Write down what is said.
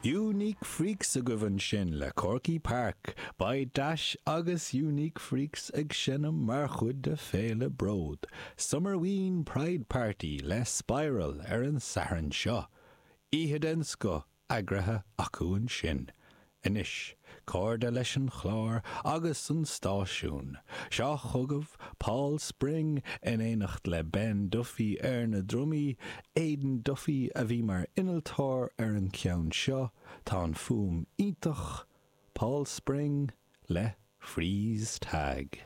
Unique Freaks agaibh ansin le Corky Park. Beidh Dash agus Unique Freaks ag seinm mar chuid de Féile Bród, Summerween Pride Party le Spiral ar an Satharn seo. Oíche den scoth eagraithe acu ansin. Anois, cairde leis an chlár agus an stáisiún. Seo chugaibh Paul Spring in éineacht le Ben Duffy ar na drumaí, Aidan Duffy a bhí mar innealtóir ar an cheann seo, tá an fuaim iontach, Paul Spring le Freeze Tag.